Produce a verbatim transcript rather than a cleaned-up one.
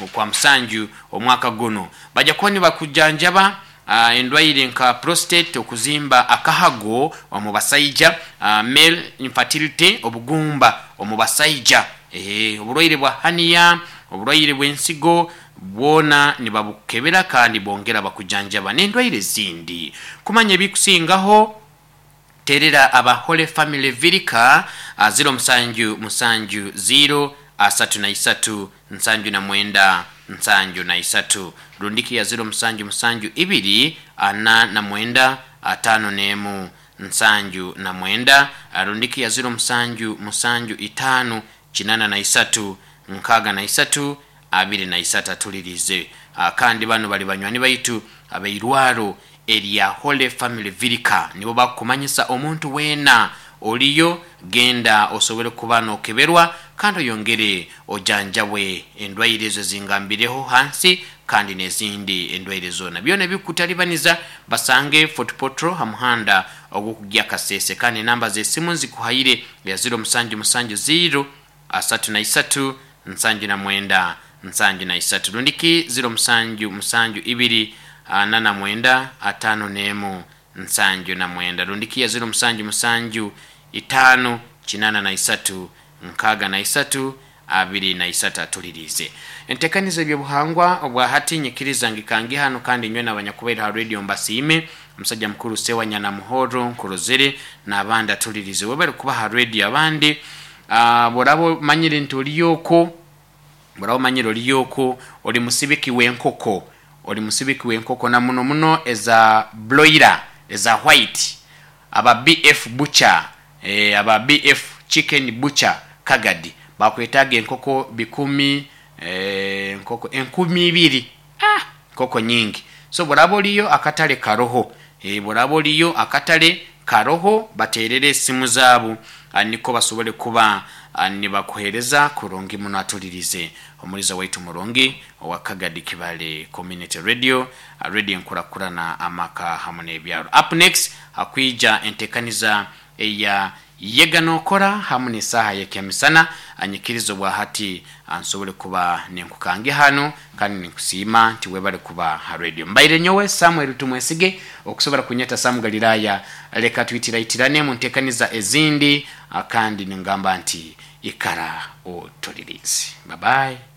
Okwa musanju omwaka guno bajja kuba nibakujanjaba uh, endwaire nka prostate, okuzimba akahago omu basaija, uh, male infertility, obugumba omu basaija, eh, oburwaire bwa hernia, oburwaire bw'ensigo bwona nibabukebera kandi bongera bakujanjaba n'endwaire ezindi. Kumanya ebikusingaho, terera aba Holy Family Virika uh, ziro musanju musanju ziro asatu na isatu nsanju na mwenda nsanju na isatu, rundiki ya ziro musanju musanju ibiri ana na mwenda atano n'emu nsanju na mwenda, rundiki ya ziro musanju musanju itano kinana na isatu nkaga na isatu abiri na isatu. Atulirize. Kandi bano bali banywani baitu abeirwaro erya Holy Family Virika, nibo bakumanyisa omuntu weena oliyo, genda osobole kuba nokeberwa kandi oyongere ojanjabwe endwaire ezo zingambireho hansi kandi n'ezindi endwaire zona byona ebikutalibaniza. Basange Fort Portal ha muhanda ogwokugya Kasese, kandi enamba z'esimu nzikuhaire ya ziro musanju musanju ziro asatu na isatu nsanju na mwenda nsanju na isatu, rundiki ziro musanju musanju ibiri ana na mwenda atano n'emu nsanju na mwenda, rundiki ya ziro musanju musanju itano kinana na isatu nkaga na isatu abiri na isatu. Atulirize. Entekaniza ebyobuhangwa obwa hati nyikiriza ngikangi hano, kandi nywe n'abanyakubaire ha radio mbasiime, omusajja mukuru Sewanyana Muhoro nkurozere n'abandi. Atulirize, webale kuba ha radio. Abandi uh, boraba omanyire nti oliyoko, boraba omanyire oliyoko oli musibiki w'enkoko, oli musibiki w'enkoko na muno muno eza broiler, eza white, aba B F Butcher, eh, aba B F Chicken Butcher Kagadi bakwetaaga enkoko bikumi, eh, enkoko enkumi ibiri. Ah, nkoko nyingi. So boraba oliyo, akatale karoho, eh, boraba oliyo, akatale karoho, baterere esimu zaabo ah, niko basobole kuba ah, nibakuhereza kurungi muno. Atulirize, omuliza waitu murungi owa Kagadi Kibale Community Radio, ah, radio enkurakurana amaka hamwe n'ebyaro. Up next hakwija entekaniza eya Yega Nokora hamwe n'esaaha yekyamisana. Anyikiriza obwa hati nsobole kuba nenkukange hano, kandi ninkusiima nti webale kuba ha radio. Mbaire nyowe Samuel Tumwesige, okusobora kunyeta Samu Galilaya. Leka twitiraitirane mu ntekaniza ezindi, ah, kandi ningamba nti ikara otulirize. Bye bye.